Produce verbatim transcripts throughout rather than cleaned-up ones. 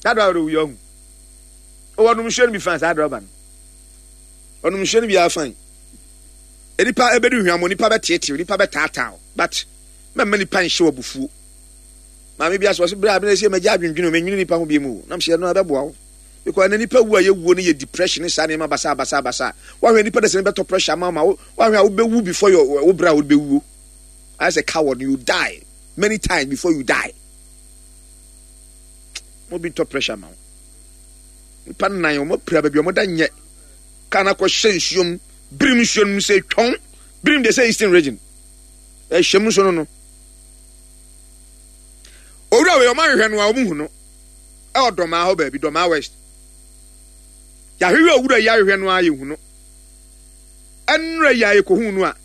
Saa driver no owui ɔhu. Ɔwɔ ɔnom nsuo no bi fan saa driver no. Ɔnom nsuo no bi afan. Nipa ebedi hwamɔ, nipa bɛteetew, nipa bɛtaataa, but mɛmma nipa nhyɛ wɔ abufuo. Maame bi asɔ ɔsɛ bere a bere sɛ mɛgya adwendwene o, mɛnwene nipa ho bi mu o. Nam sɛ ɛno ɛbɛboa wo. Because ɛnɛ nipa wu a yɛwuo no yɛ depression ne saa nneɛma basa basa basa. Wahwɛ nipa de sɛ ne bɛtɔ pressure ama ma wo, wahwɛ a wobɛwu before your wo bere a wobɛwuo. Ayɛ sɛ coward, you die many times before you die. Mo bi ntɔ pressure ma wo. Nipa nnan wɔn apira baabi a wɔn da nyɛ. Kaa no akɔhyɛ nsuo mu, birim nsuo no mu sɛ twɔn, birim de sɛ Eastern Region. Ɛhyɛ mu nso no no. Owura wei ɔmo ahwehwɛ no a ɔmo hu no. Ɛwɔ Dɔmaa hɔ baabi, Dɔmaa West. Yɛahwehwɛ owura yi ahwehwɛ no a yɛhu no. Ɛnnora yi a yɛkɔhu no a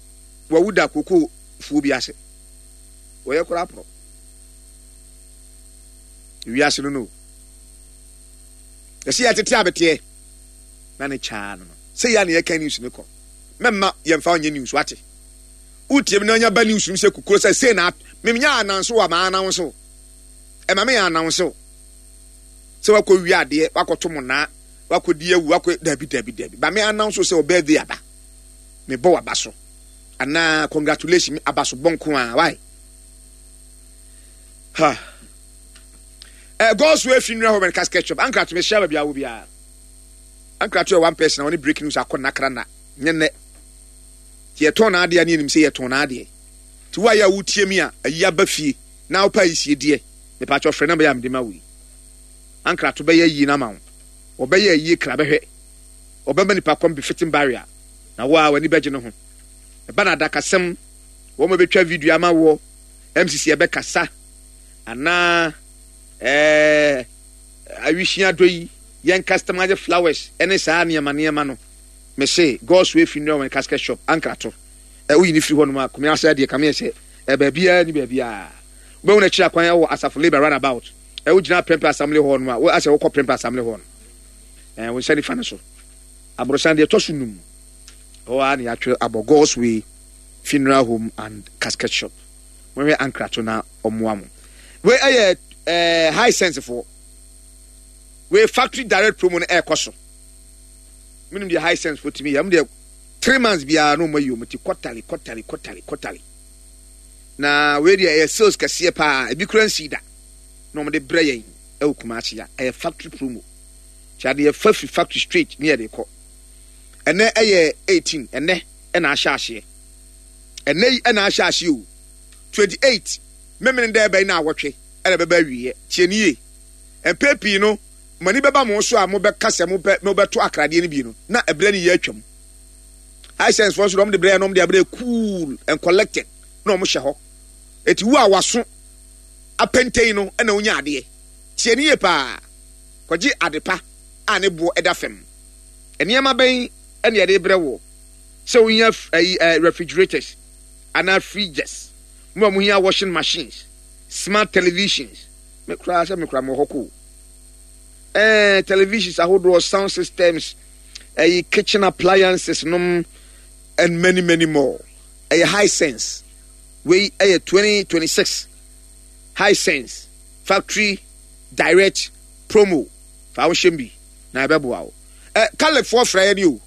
wawu da koko fuo bi ase. Wɔyɛ koraa porɔ. Wiase no no. Yɛsɛ yɛtete abeteɛ na ne kyaa no no. Sɛ yɛ a na yɛka news ne kɔ. Mɛmma yɛmfa ɔnyɛ news wate. Wotie mi na ɔnya ba news no sɛ kukuro sɛ sei na memenya ananso wɔ maa ananso. Ɛma me yɛ ananso. Sɛ wakɔ wie adeɛ, wakɔto mo naa, wakɔ di awu, wakɔ dabi dabi dabi. Ba me ananso sɛ ɔ birthday aba. Mebɔ waba so. Anaa congratulation aba so bɔ nko a why? Ha. Eh, God's Way Funeral Home and Casket Shop. Ankra to me share baabi a wo biara. Ankra to yɛ one person a wɔne breaking news akɔ nakra na nyɛ nnɛ. Nti yɛtɔn n'adeɛ ne yɛnim sɛ yɛtɔn n'adeɛ. Nti wo a yɛ a wotie mi a ayi aba fie na wopɛ ayisie deɛ mepaakyɛ frɛ na bɛyɛ a mede ma wo yi. Ankra to bɛyɛ yie no ama wo. Ɔbɛyɛ ayie kra bɛhwɛ. Ɔbɛma nipa kɔm befitting barrier. Na wo a w'ani bɛgye ne ho. Ɛba na adakasɛm wɔn a bɛtwa video ama wɔ M C C ɛbɛkasa anaa ɛɛ awisua dɔ yi yɛn customize flowers ɛne saa nneɛma nneɛma no, mese God's Way Funeral and Casket Shop, Ankrato ɛ woyi ne firi hɔ nom a kumi asa deɛ kame yɛ sɛ ɛ baabiara ni baabiara wobɛhu no akyiri akwan ɛwɔ Asafo Labour roundabout. Ɛ wogyina Prempeh Assembly Hall no a wo asɛ wokɔ Prempeh Assembly Hall no ɛ wo nsa nifa no so aborosan deɛ ɛtɔ so num hɔ a na yɛatwerɛ abɔ God's Way Funeral Home and Casket Shop. Mohwɛ Ankrato na ɔmmoa mo. Wei ɛyɛ ɛɛ Hisense foɔ wei factory direct promo no ɛɛkɔ so. Menim deɛ Hisense foɔ tumi yɛ ɛmo deɛ three months biara na ɔmo ayi ɔmo ti quarterly, quarterly, quarterly, quarterly. Na wei deɛ ɛyɛ sales kɛseɛ paa, ebi kura nsi da na ɔmo de brɛ yɛn ɛwɔ Kumasi a ɛyɛ factory promo. Tí adeɛ fa firi factory straight ne yɛde kɔ. Ɛnɛ ɛyɛ eighteen, ɛnɛ ɛna ahyɛ aseɛ, ɛnɛ yi ɛna ahyɛ aseɛ o, twenty eight mmemmene dɛ ɛbɛn na awɔtwe ɛna ɛbɛba awieɛ. Tie nie, mpɛ pii no mo ani bɛba mo so a mobɛka sɛ mopɛ mobɛto akradeɛ no bi no na ɛbrɛ no yɛ atwam. Hisense foɔ nso de wɔn de brɛ yɛn na wɔn de abrɛ cool and collected na wɔn hyɛ hɔ. Eti wo a waso apɛntɛn no ɛna wonya adeɛ. Tie nie paa, kɔgye ade pa a ne boɔ ɛda fam. Nneɛma bɛn ɛna yɛde brɛ wɔ sɛ wohia ɛyi ɛɛ refrigerators anaa fridges mo a mohia washing machines, smart televisions, me koraa sɛ me koraa mo wɔ hɔ ko ɛɛ televisions ahodoɔ, sound systems, ɛyi kitchen appliances nom and many many more. Ɛyɛ Hisense. Wei ɛyɛ twenty twenty six Hisense factory direct promo. Fa wo hyɛm bi na ɛbɛboa wo. Ɛ kalefoɔ frɛ yɛ ni o.